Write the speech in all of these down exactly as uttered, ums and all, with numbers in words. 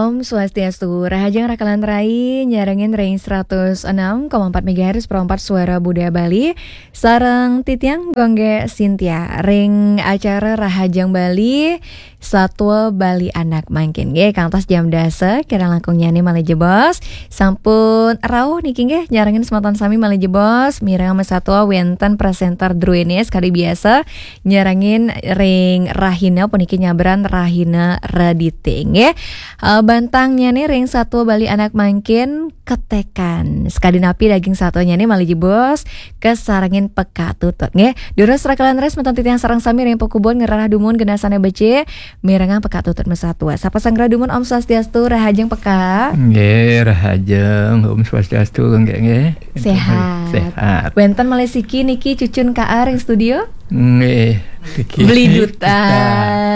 Om Swastiastu, rahajeng rakalan rai nyarengin ring seratus enam koma empat megahertz Pro empat Suara Budaya Bali, sareng titiang Gung Gé Cynthia ring acara Rahajeng Bali, Satua Bali Anak mangkin nggih, kantos jam dasa, kirang langkung nyané malih jebos. Sampun rauh niki nggih, nyarengin semeton sami malih jebos, mireng masatua wénten presenter druéné sakadi biasa, nyarengin ring rahina puniki nyabran rahina Redité nggih. Eh, bantangnyané ring Satua Bali Anak mangkin ketekan. Sakadi napi daging satuanyané malih jebos, kasarengin pekak tutut nggih. Durus rakalan rai semeton titiang sareng sami ring pakubon ngrereh dumun genah sané becik, mirengang pekak tutut masatua. Sapa sang ngrereh dumun, Om Swastiastu, rahajeng pekak. Nggih, rahajeng, Om Swastiastu, nggih, nggih. Séhat. Séhat. Wénten malih siki niki cucun K A ring studio? Nggih, niki. Beli duta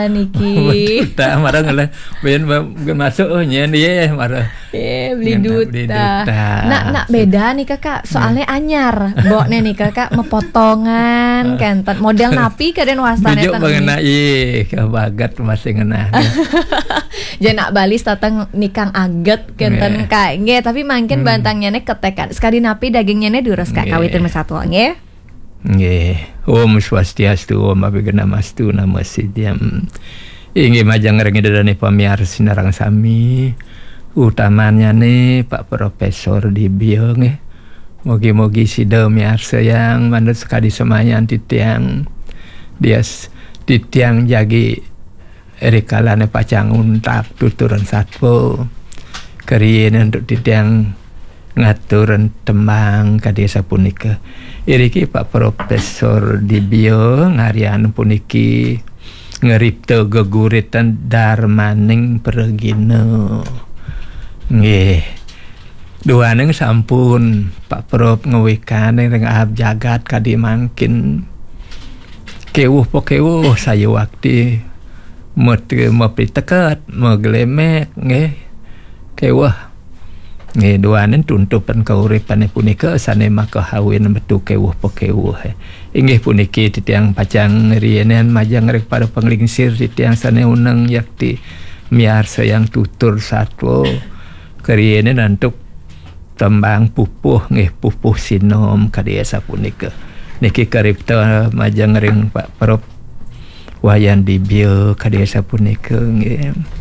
niki. Beli duta, marang oleh, ben, ben, masuk, oh, nyen, nggih, marang. Eh, beli duta. Beli duta. Nak, nak beda nih, Kakak. Soalnya anyar. Mbokné nih, Kakak, mepotongan, kénten. Model napi kadén wastané? Bijuk ten mengenai, ih, kabaget masih ngenah. Jadi nak Bali dateng nikang aget, kénten, Kak. Nggih, tapi mangkin bantangnyané ketekan. Sakadi napi dagingnyané durus, Kak, kawitin masatua, nggih. Nggih. Om Swastiastu, Om Abhignamastu, Namo Siddham. Inggih majeng ring ida dané pamiarsa sareng sami. Utamannyané Pak Profesor Dibia nggih. Mugi-mugi sida miarsayang manut sakadi semayan titiang. Dias titiang jagi rikalané pacang untat tuturan satua. Kariin antuk titiang ngaturang tembang kadi sapunika. Iriki Pak Profesor Dibia ngaryan puniki ngripta geguritan darmaning pragina. Nggih. Duaning sampun Pak Prof ngawikaning ring aab jagat kadi mangkin. Kéwuh pakéwuh sayuwakti mapiteket, maglemek, nggih. Kéwuh. Nggih, duaning tuntupan kauripané punika sané makahawin metu kéwuh pakéwuh. Inggih puniki titiang pacang ngrienin majeng ring para panglingsir titiang sané uneng yakti miarsayang tutur satua. Kariin antuk tembang pupuh nggih, pupuh sinom kadi sapunika. Niki karipta majeng ring Pak Prof Wayan Dibia kadi sapunika nggih.